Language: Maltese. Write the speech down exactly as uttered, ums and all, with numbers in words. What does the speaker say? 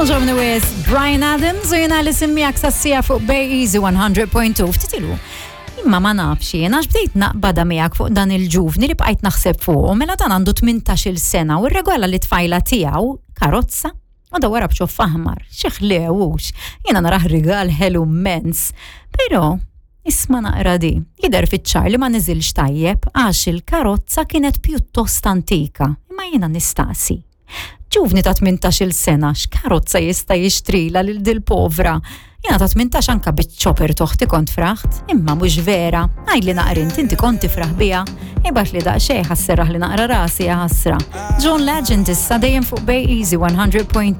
Togħġobni wisq Bryan Adams u jiena Alison miegħek sas-siegħa fuq Bay Easy one hundred point two ftit ilu. Imma ma nafx jien għax bdejt naqbada miegħek fuq dan il-ġuvni li bqajt naħseb fuq, mela dan għandu tmintax-il sena u rregala lit-tfajla tiegħu karozza u da wara b'ċoff aħmar, xi ħlewux. Jiena narah rigal ħelu immens. Però isma' naqra di, jidher fiċ-ċar li ma niżilx tajjeb għax il-karozza kienet pjuttost antika, imma jiena nistaqsi. Ġuvni ta' tmintax-il sena, x'karozza jista' jixtrila lil dil povra? Jiena ta' tmintax anka biċ-chopper t'oħti kont fraħt, imma mhux vera. Għidli naqra int, inti kont tifraħ biha? Ibgħatli daqsxejn ħa sserraħli naqra rasi, ħasra. John Legend issa, dejjem fuq Bay Easy one hundred point two.